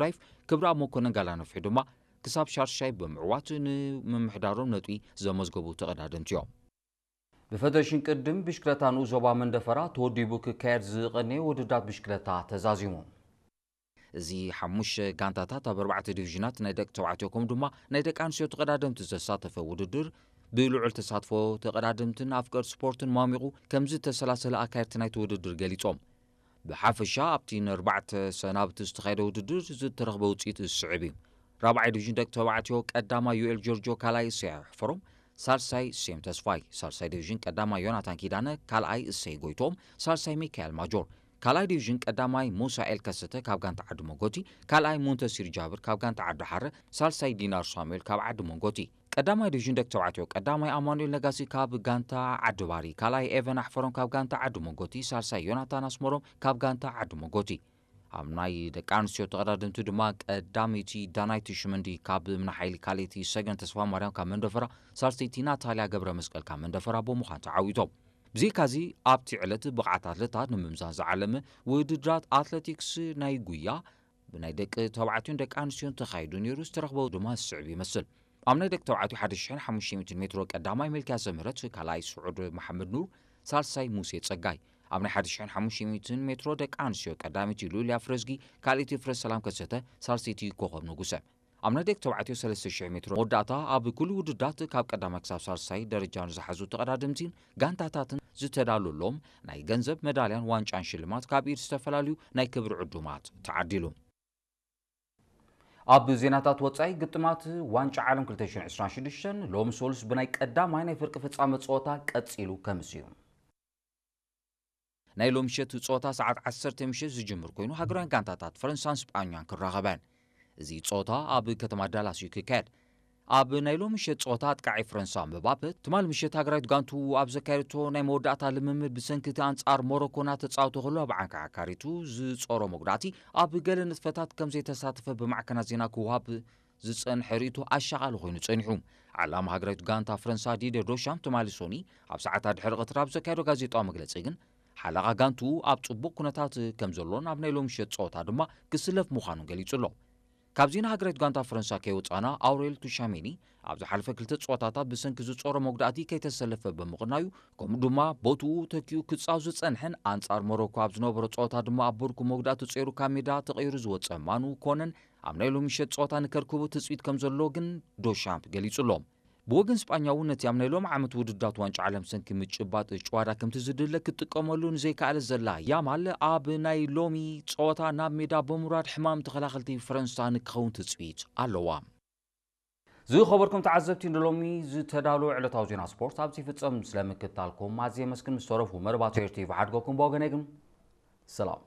ዳይፍ ክብረኣብ መኮነን ጋላ ነፍሒ ድማ ክሳብ ሻርሻይ ብምዕዋት ንምምሕዳሮም ነጥቢ ዘመዝገቡ ተቐዳደምቲ እዮም። ብፈደሬሽን ቅድድም ብሽክለታ ንኡስ ዞባ መንደፈራ ተወዲቡ ክካየድ ዝቐነየ ውድድራት ብሽክለታ ተዛዚሙ። እዚ ሓሙሽተ ጋንታታት ኣብ ኣርባዕተ ዲቪዥናት ናይ ደቂ ተባዕትዮ ከምኡ ድማ ናይ ደቂ ኣንስትዮ ተቐዳደምቲ ዘሳተፈ ውድድር ብልዑል ተሳትፎ ተቐዳደምትን ኣፍቀርቲ ስፖርትን ማሚቑ ከም ዝተሰላሰለ ኣካየድቲ ናይቲ ውድድር ገሊጾም። ብሓፈሻ ኣብቲ ንኣርባዕተ ሰናብቲ ዝተኻየደ ውድድር ዝተረኽበ ውፅኢት ዝስዕብ እዩ። ራብዓይ ዲቪዥን ደቂ ተባዕትዮ ቀዳማይ ዩኤል ጆርጆ፣ ካልኣይ እሰይ ኣሕፈሮም፣ ሳልሳይ ሴም ተስፋይ፣ ሳልሳይ ዲቪዥን ቀዳማይ ዮናታን ኪዳነ፣ ካልኣይ እሰይ ጎይቶም፣ ሳልሳይ ሚካኤል ማጆር፣ ካልኣይ ዲቪዥን ቀዳማይ ሙሳኤል ከሰተ ካብ ጋንታ ዓዲ ሞጎቲ፣ ካልኣይ ሙንተሲር ጃብር ካብ ጋንታ ዓዲ ሓረ፣ ሳልሳይ ዲናር ሳሙኤል ካብ ዓዲ ሞጎቲ። ቀዳማይ ዲቪዥን ደቂ ተባዕትዮ ቀዳማይ ኣማኑኤል ነጋሲ ካብ ጋንታ ዓዲ ባሪ፣ ካልኣይ ኤቨን ኣሕፈሮም ካብ ጋንታ ዓዲ ሞጎቲ፣ ሳልሳይ ዮናታን ኣስመሮም ካብ ጋንታ ዓዲ ሞጎቲ። ኣብ ናይ ደቂ ኣንስትዮ ተቐዳደምቲ ድማ ቀዳመይቲ ዳናይቲ ሽመንዲ ካብ ምናሓይሊ፣ ካልኣይቲ ሰገን ተስፋ ማርያም ካብ መንደፈራ፣ ሳልሰይቲ ናታልያ ገብረ መስቀል ካብ መንደፈራ ብምዃን ተዓዊቶም። ብዘይካዚ ኣብቲ ዕለት ብቕዓት ኣትለታት ንምምዛን ዝዓለመ ውድድራት ኣትሌቲክስ ናይ ጉያ ብናይ ደቂ ተባዕትዮን ደቂ ኣንስትዮን ተኻይዱ ነይሩ። ዝተረኽበ ድማ ዝስዕብ ይመስል። ኣብ ናይ ደቂ ተባዕትዮ ሓደ ሽሕን ሓሙሽተ ሚእትን ሜትሮ ቀዳማይ ሚልክያስ ዘምህረት፣ ካልኣይ ስዑድ መሓመድ ኑር፣ ሳልሳይ ሙሴ ጸጋይ። ኣብ ናይ ሓደ ሽሕን ሓሙሽተ ሚእትን ሜትሮ ደቂ ኣንስትዮ ቀዳመይቲ ሉልያ ፍረዝጊ፣ ካልኣይቲ ፍረ ሰላም ከሰተ፣ ሳልሰይቲ ኮኸብ ንጉሰ። ኣብ ናይ ደቂ ተባዕትዮ ሰለስተ ሽሕ ሜትሮ መወዳእታ ኣብ ኩሉ ውድዳት ካብ ቀዳማይ ክሳብ ሳልሳይ ደረጃ ንዝሓዙ ተቐዳደምቲን ጋንታታትን ዝተዳለወሎም ናይ ገንዘብ መዳልያን ዋንጫን ሽልማት ካብ ኢድ ዝተፈላለዩ ናይ ክብሪ ዕዱማት ተዓዲሉ። ኣብ ዜናታት ወጻኢ፣ ግጥማት ዋንጫ ዓለም ክልተ ሽሕን ዕስራን ሽዱሽተን ሎሚ ሰሉስ ብናይ ቀዳማይ ናይ ፍርቂ ፍጻመ ጸወታ ቀጺሉ ከምስ እዩ። ናይ ሎሚ ምሸት ጸወታ ሰዓት ዓሰርተ ምሸት ዝጅምር ኮይኑ፣ ሃገራውያን ጋንታታት ፈረንሳን ስጳኛን ክራኸባ እየን። እዚ ጸወታ ኣብ ከተማ ዳላስ እዩ ክካየድ። ኣብ ናይ ሎሚ ምሸት ጸወታ ኣጥቃዓይ ፈረንሳ ምባፔ፣ ትማል ምሸት ሃገራዊት ጋንቱ ኣብ ዘካየደቶ ናይ መወዳእታ ልምምድ ብሰንኪ እቲ ኣንጻር ሞሮኮ እናተጻወተ ከሎ ኣብ ዓንካዓካሪቱ ዝጾሮ መጉዳእቲ ኣብ ገለ ንጥፈታት ከም ዘይተሳተፈ ብማዕከናት ዜና ክወሃብ ዝጸንሐ ርእይቶ ኣሻቓሊ ኮይኑ ጸኒሑ። ዓላማ ሃገራዊት ጋንታ ፈረንሳ ዲድየ ዶሻምፕ ትማሊ ሶኒ ኣብ ሰዓታት ድሕሪ ቀትሪ ኣብ ዘካየዶ ጋዜጣዊ መግለጺ ግን፣ ሓለቓ ጋንቱ ኣብ ጽቡቕ ኩነታት ከም ዘሎን ኣብ ናይ ሎሚ ምሸት ጸወታ ድማ ክስለፍ ምዃኑን ገሊጹ ኣሎ። ካብዚ ንሃገራዊት ጋንታ ፈረንሳ ከይወጻና፣ ኣውሬል ቱሻሜኒ ኣብ ዝሓለፈ ክልተ ጸወታታት ብሰንኪ ዝጾሮ መጉዳእቲ ከይተሰለፈ ብምቕናዩ፣ ከምኡ ድማ ቦትኡ ተኪኡ ክጻወት ዝጸንሐን ኣንጻር ሞሮኮ ኣብ ዝነበሮ ጸወታ ድማ ኣብ ቦርኩ መጉዳእቲ ጸይሩ ካብ ሜዳ ተቐይሩ ዝወጸ ማኑ ኮነን ኣብ ናይ ሎሚ ምሸት ጸወታ ንከርክቦ ትጽቢት ከም ዘሎ ግን ዶሻምፕ ገሊጹ ኣሎ። ብወገን ስጳኛ እውን ነቲ ኣብ ናይ ሎሚ ዓመት ውድድራት ዋንጫ ዓለም ሰንኪ ምጭባጥ ጭዋዳ ከምቲ ዝድለ ክትጥቀመሉ ንዘይከኣለት ዘላ ያማል ኣብ ናይ ሎሚ ጸወታ ናብ ሜዳ ብምውራድ ሕማም ተኸላኸልቲ ፈረንሳ ንክኸውን ትጽቢት ኣለዋ። ዝኸበርኩም ተዓዘብቲ፣ ንሎሚ ዝተዳለወ ዕለታዊ ዜና ስፖርት ኣብዚ ይፍጸም። ስለምክትታልኩም ኣዝየ የመስግን። ምስ ተረፉ መርባት ኤር ቲ ቪ ሓድገኩም ብወገነይ ግን ሰላም።